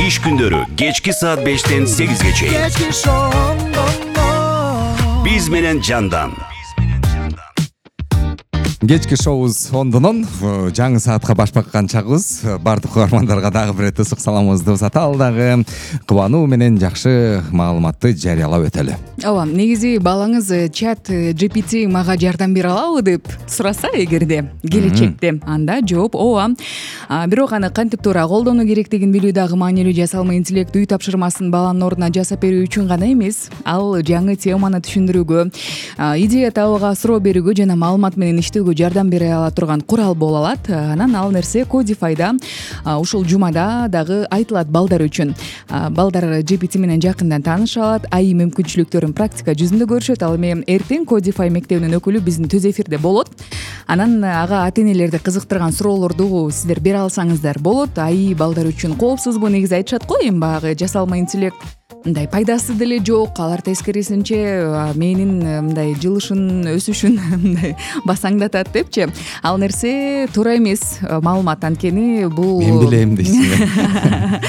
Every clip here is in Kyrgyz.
Иш күндөрү кечки саат 5-тен 8-ге чейин. Биз менен жандан. Кечки шоубуз ондонон жаңы саатка баш баккан чагыбыз. Бардык угармандарга дагы бир ысык саламыбызды узата ал дагы кубануу менен жакшы маалыматты жарыялап өтөлү. Ооба, негизи балаңыз чат GPT мага жардам бере алабы деп сураса эгерде келечекте, анда жооп ооба. Бирок аны кантип туура колдонуу керектигин билүү дагы маанилүү. Жасалма интеллект үй тапшырмасын баланын ордуна жасап берүү үчүн гана эмес, ал жаңы теманы түшүндүрүүгө, идея табууга, суроо берүүгө жана маалымат менен иштөөгө жардам бере ала турган курал боло алат. Анан ал нерсе Codify'да ушул жумада дагы айтылат балдар үчүн. Балдар GPT менен жакындан тааныша алат, AI мүмкүнчүлүктөрүн практика жүзүндө көрүшөт. Ал эми эртең Codify мектебинин өкүлү биздин түз эфирде болот. Анан ага ата-энелерди кызыктырган суроолорду сиздер бере алсаңыздар болот. AI балдар үчүн коопсузбу? Негизи айтышат го, эми баягы жасалма интеллект мындай пайдасы деле жок, алар тескерисинче менин мындай жылышын, өсүшүн мындай басаңдатат депчи. Ал нерсе туура эмес. Маалымат анткени бул Мен билем дейсиң.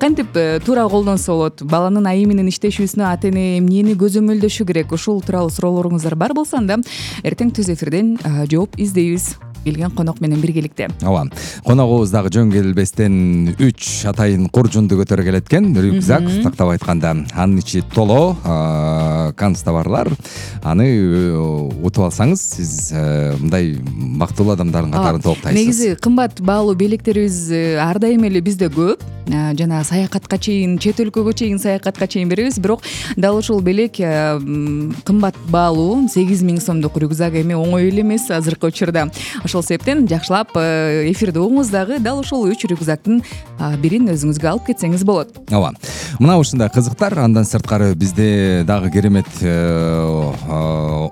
Кантип туура колдонсо болот? Баланын AI менен иштешүүсүнө ата-эне эмнени көзөмөлдөшү керек? Ушул тууралуу суроолоруңуздар бар болсо анда эртең түз эфирден жооп издейбиз. Келген конок менен биргеликте. Ооба. Коногубуз дагы жөн келбестен 3 атайын куржунду көтөрө келет экен. Рюкзак, тактап айтканда, анын ичи толо канцтоварлар. Аны утуп алсаңыз, сиз мындай бактылуу адамдардын катарын топтойсуз. Негизи кымбат баалуу белектерибиз ар дайым эле бизде көп. Жана саякатка чейин, чет өлкөгө чейин саякатка чейин беребиз. Бирок дал ушул белек кымбат баалуу 8000 сомдук рюкзак эми оңой эле эмес азыркы учурда. Ошол себептен жакшылап эфирди угуңуз дагы дал ушул 3 рюкзактын бирин өзүңүзгө алып кетсеңиз болот. Ооба. Мына ушундай кызыктар, андан сырткары бизде дагы керемет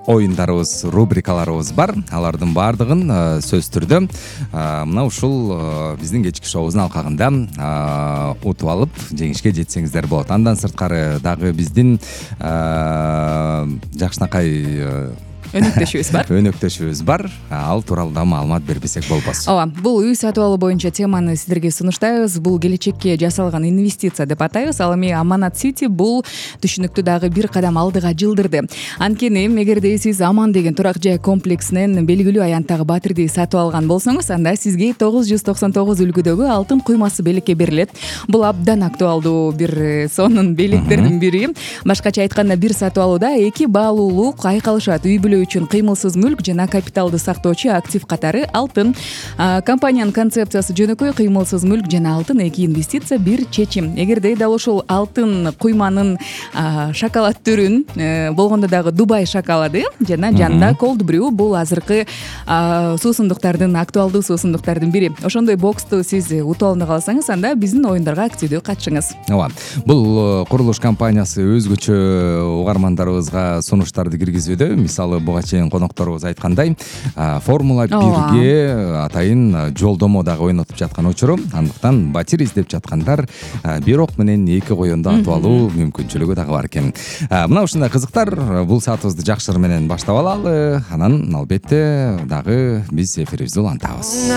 оюндарыбыз, рубрикаларыбыз бар. Алардын баардыгын сөзсүз түрдө мына ушул биздин кечки шоубуздун алкагында утуп алып жеңишке жетсеңиздер болот. Андан сырткары дагы биздин жакшынакай өнөктөшүбүз бар. Ал тууралуу да маалымат бербесек болбос. Ооба, бул үй сатып алуу боюнча теманы сиздерге сунуштайбыз. Бул келечекке жасалган инвестиция деп атайбыз. Ал эми Аманат Сити бул түшүнүктү дагы бир кадам алдыга жылдырды. Анткени эгерде сиз Аман деген турак жай комплексинен белгилүү аянттагы батирди сатып алган болсоңуз, анда сизге 999 үлгүдөгү алтын куймасы белекке берилет. Бул абдан актуалдуу бир сонун белектердин бири. Башкача айтканда, бир сатып алууда 2 баалуулук айкалышат. Үй бүлө үчүн кыймылсыз мүлк жана капиталды сактоочу актив катары алтын. Компаниянын концепциясы жөнөкөй: кыймылсыз мүлк жана алтын, 2 инвестиция, бир чечим. Эгерде дал ушул алтын куйманын шоколад түрүн, болгондо дагы Дубай шоколады жана жанында cold brew, бул азыркы суусундуктардын, актуалдуу суусундуктардын бири. Ошондой боксту сиз утуп алууну кааласаңыз, анда биздин оюндарга активдүү катышыңыз. Ооба. Бул курулуш компаниясы өзгөчө угармандарыбызга сунуштарды киргизүүдө. Мисалы, буга чейин конокторубуз айткандай, Формула 1ге атайын жолдомо дагы ойнотуп жаткан учуру. Андыктан батир издеп жаткандар бир ок менен 2 коюнду атып алуу мүмкүнчүлүгү дагы бар экен. Мына ушундай кызыктар, бул саатыбызды жакшыр менен баштап алалы. Анан албетте дагы биз эфирибизди улантабыз.